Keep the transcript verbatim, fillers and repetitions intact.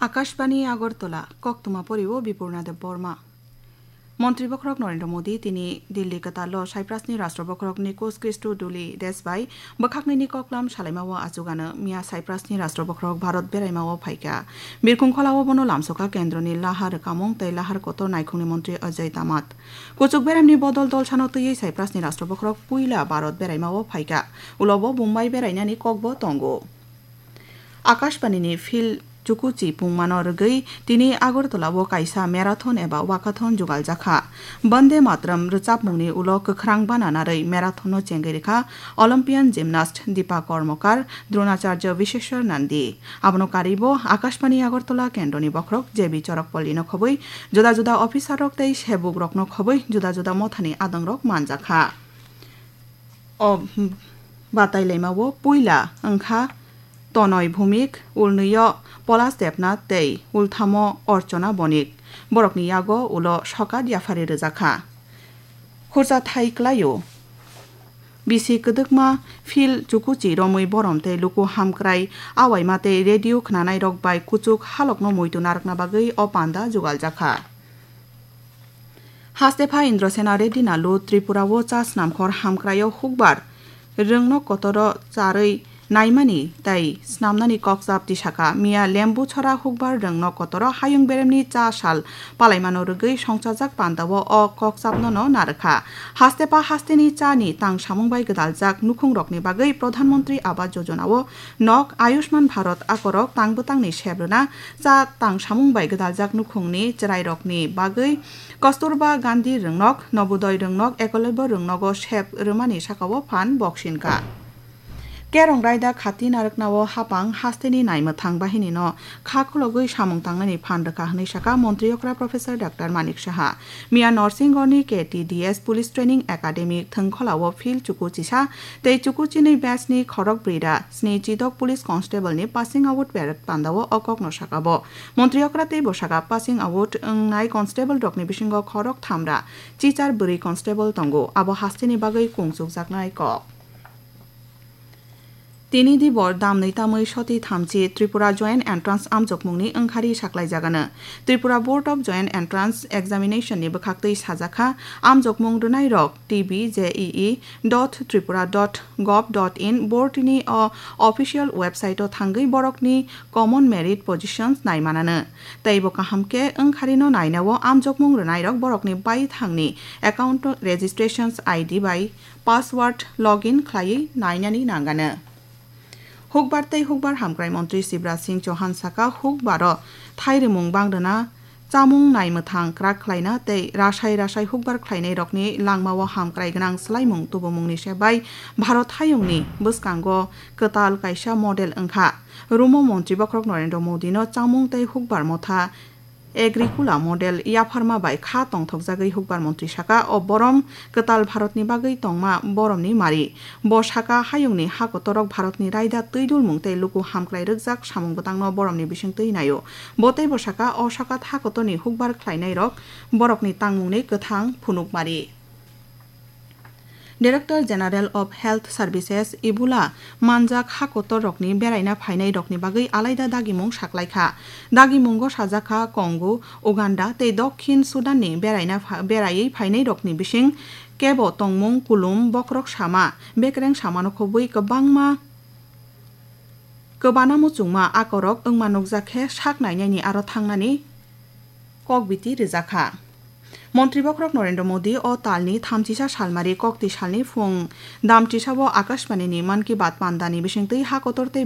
Akashbani Agartala, koktwma pori o Bipurna Debbarma. Montri bokhorok Narendra Modi tini Delhi kwtal o Cyprus ni Rashtra bokhorok Nikos Christodoulidis bai bwkhaknwi ni koklam salaima o achugano miya Cyprus ni Rashtra bokhorok Bharat beraima o phaikha. Birkhung khola o bono lamsokha kendro ni lahar rwkamung tei lahar kotor naikhung ni montri Ajay Tamat. Kuchuk beram ni bodol dolsano twiwi Cyprus ni Rashtra bokhorok puila Bharat beraima o phaikha. Ulo bo Mumbai berainani kok bo tongo. Akashbani ni Phil Chukuchi pungmano rwgwi tini Agartala o kaisa marathon eba walkathon jugaljakha. Bande Mataram rwchapmungni ulo kwkhrang bana narwi marathon no chengwi rwkha Olympian gymnast Deepa Karmakar, Dronacharya Visheshwar Nandi. Abono karwi bo Akashbani Agartala kendroni bokhorok J B Chorakpalli no khobwi juda juda officer rok tei sebuk rokno khobwi juda juda mothani adongrok manjakha. O batai laima o puila wngkha Tonoi Bhumik, ulnwi o Polas Debnath tei ulthamo Orchona Bonik. Borokni yago ulo sokat yaphari rwjakha. Khurcha thai kwlaio. Bisi kwdwkma Phil Chukuchi romwi borom tei luku hamkrai awaima tei radio khnanairok bai kuchuk halokno muitu narwkna bagwi o panda jugaljakha. Hastepha Indrasena Reddy Nalu Tripura o cha snamkhor hamkraio hukbar rwngnok kotoro charwi naimani tei snamnani kokchap tisaka. Miya Lembuchora hukbar rwngnok kotoro hayung beremni cha sal palaimano rwgwi songchajak pandao o kokchapnono narwkha. Hastepha hasteni chani tang samung bai gwdaljak nukhungrokni bagwi Pradhan Mantri Awas Yojana o nok, Ayushman Bharat akorok tang bwtangni sep rwna, cha tang samung bai gwdaljak nukhungni chwrairokni bagwi Kasturba Gandhi rwngnok, Nobodoi rwngnok, Ekolobya rwngnogo sep rwmani sakao phan boksinkha. Kerong raida khati narwknao hapang hasteni naimwthang bahinino kha khulogwi samung tangnani phan rwkha hwnwi sakha Montri okra Professor Doctor Manik Saha. Miya Norsinghorni K T D S Police Training Academy thwngkholao Phil Chukuchisa tei Chukuchinwi batchni khorok brwi ra sni chidok Police Constable ni passing out parade pandao o kokno sakabo. Montri okra tei bwsaka passing out wngnai constable rokni bisingo khorok thamra chichar bwrwi constable tongo, abo hasteni bagwi kung chukjaknai kok. Tini dibor damnwi tamwi soti thamchi Tripura Joint Entrance amjokmungni wngkhari saklaijagano. Tripura Board of Joint Entrance Examination ni bwkhaktwi sajakha, amjokmung rwnairok T B J E E dot tripura dot gov dot in board ni o official website o thangwi borokni common merit positions naimanano. Tei bo kaham khe wngkharino nainao amjokmung rwnairok borokni baithangni account registrations I D bai password login khlaiwi nainani nangano. Hukbar tei hukbar hamkrai montri Shivraj Singh Chauhan saka, hukbaro thairwmung bangrwna, chamung naimwthang kwrak khlaina tei rasai rasai hukbar khlainairokni langmao hamkrai gwnang swlaimung tubumungni se bai Bharat hayungni bwskango kwtal kaisa model wngkha. Rumo montri bokhorok Narendra Modino chamung tei hukbar motha Agricola model yapharma bai kha tongthokjagwi hukbar montri saka, o borom kwtal Bharatni bagwi tongma boromni mari. Bo saka, hayungni ha kotorok Bharatni raida twi dulmung tei luku hamkrai rwkjak samung bwtangno boromni bisingtwi naio. Bo teibo saka, o saka ha kotorni hukbar khlainairok borokni tangmungni kwthang phunukmari. Director General of Health Services Ebola manjak ha kotor rokni beraina phainai rokni bagwi alaida dagimung saklaikha. Dagimungo sajakha Congo, Uganda tei Dokhin Sudan ni beraina pha-, beraiwi phainai rokni bising kebo tongmung, kulum, bokhorok sama, bekereng samano khobwi kwbangma kwbana muchungma akorok wngma nukjak khe sak nainani aro thangnani kokbiti rwjakha. Montri bokhorok Narendra Modi o talni thamchisa salmari kokti salni phung damchisao Akashbani ni Mann Ki Baat pandani bisingtwi ha kotor tei